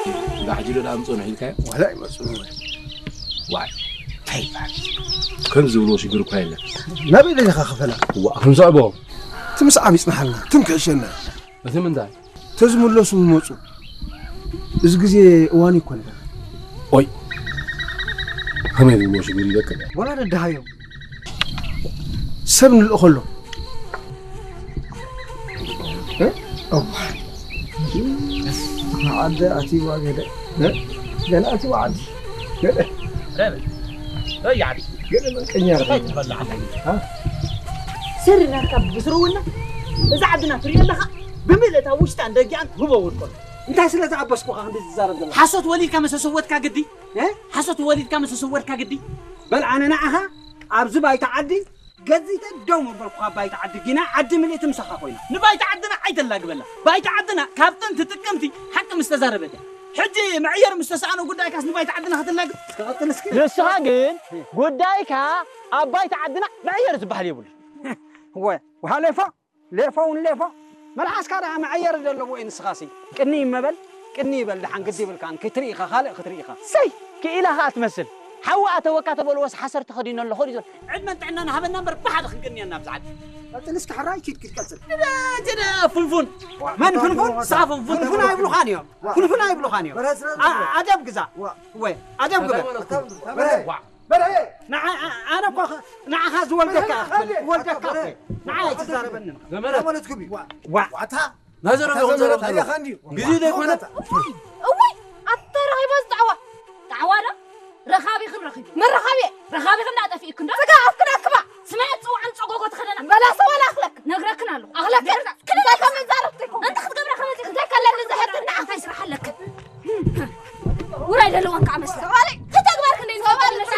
እንዳ ሕጂ ዶ ደኣ ምጽኡ ንሒልካዮ? ዋላ ኣይመጽኡን ወይ? ዋይ፣ እንታይ ይበሃል? ከም ዝብልዎ ሽግር እኳ የለን። ናበይ ደሊኻ ክፈላ? ዋ፣ ክንስዕቦ። እቲ ምስዓብ ይጽንሓልና፣ ትም ክሕሸና። እቲ ምንታይ? ተዝምለሱ ምመጹ። እዚ ግዜ እዋን ይኮን። ኦይ፣ ከመይ ዝብልዎ ሽግር ይበቅል? ዋላ ደድሃዮም። ሰብ ንልእኸሎም። እ? እዋ። ዓዲ ኣትይዋ ገለ። እ? ገለ ኣትይዋ ዓዲ። ገለ። ረበ። ወይ ዓዲ። ገለ መንቀኛ እንታይ ረበ። ትበልዕ ኣለኒ? እ? ስሪ ናትካ ብስርውና እዛ ዓድና ትሪኦ ኣለኻ? ብምልእታ ውሽጣን ደጊኣን ህቦ ውድቆ። እንታይ ስለ ዝኣበስኩኻ ክንዲ ዝዛረብ ዘለኻ? ሓሶት ወሊድካ መሰሰወትካ ግዲ? እ? ሓሶት ወሊድካ መሰሰወትካ ግዲ? በል ኣነ ንዓኻ ኣብዚ ባይታ ዓዲ ገዚተ ደው መበልኩኻ። ባይታ ዓዲ ጊና ዓዲ ምልእቲ ምሳኻ ኮይና። ንባይታ ዓድና ኣይተላግበላ። ባይታ ዓድና ካብ ጥንቲ ጥቅምቲ ሓቂ ምስ ተዛረበት እያ። ሕጂ መዕየር ምስ ተሰኣኖ ጉዳይካስ ንባይታ ዓድና ክትላግብ? ክቐጽል እስኪ። ንስኻ ግን ጉዳይካ ኣብ ባይታ ዓድና መዕየር ዝበሃል የብሉ። ወ-፣ ውሃ ሌፎ፣ ሌፎ እውን ሌፎ። መልሓስካ ደኣ መዕየር ዘለዎ እዩ ንስኻሲ። ቅኒ ይመበል፣ ቅኒ ይበል ደሓን ግዲ ይብልካን ክትርኢ ኢኻ፣ ካልእ ክትርኢ ኢኻ። ሰይ! ክኢላ ኸኣ ትመስል። ሓዊ ኣተወካ ተበልዎስ ሓሰር ተኸዲኖ ኣለኹ ድዩ ዘሎ? ዕድመን ጥዕናን ሃበና እምበር ብሓደ ክንቅንየና ኣብዚ ዓዲ። ቀጽል እስኪ ሕራይ ኪድ ኪድ ቀጽል። ጅደ ፍንፉን። መን ፍንፉን? ንሳ ፍንፉን። ፍንፉን ኣይብሉኻን እዮም። ፍንፉን ኣይብሉኻን እዮም። በረስ ረስ ኣ-፣ ኣደብ ግዛ። ዋ። ወይ፣ ኣደብ ግበር። ኣታ-፣ ኣታ-፣ በረ-፣ ዋ። በረ-፣ ንዓ-፣ ኣ-፣ ኣነ እኮ ኸ-፣ ንዓኻ ዝወልደካ በረ-፣ ክብል፣ በረ-፣ ወልደካ በረ-፣ እኮ። ንዓይ ኣይትዛረበኒ። ዘመረ። ማለት ግቢ። ዋ። ዋ። ዋታ። ናዘረ ኣታ ዘመረ ዘለኹ። ታዲያ ኻንዲ። ግዜ ዘይኮነ። እውይ፣ ኣታ ረኺባ ዝጣዕዋ። ጣዕዋ ዶ? ረኻቢኽን ረኺቡ። መን ረኻቢ? ረኻቢኽን ዳጠፊእክን ዶ? ስጋ ኣፍክን ኣክባ። ስምዒት ጽውዓን ጸጎጎ ትኸደና። በላ ሰው ኣላኽለክ። ነግረክን ኣለኹ። ኣኽለክ። እንታይ ከም ዛረብቲ እኮ። እንታይ ክትገብራ ከመዚ? እንታይ ከለኒ ዝሕትን ንዓኻ እንታይ ስራሕ ኣለክ? ውራይ ዘለዋን ከዓ መስላ።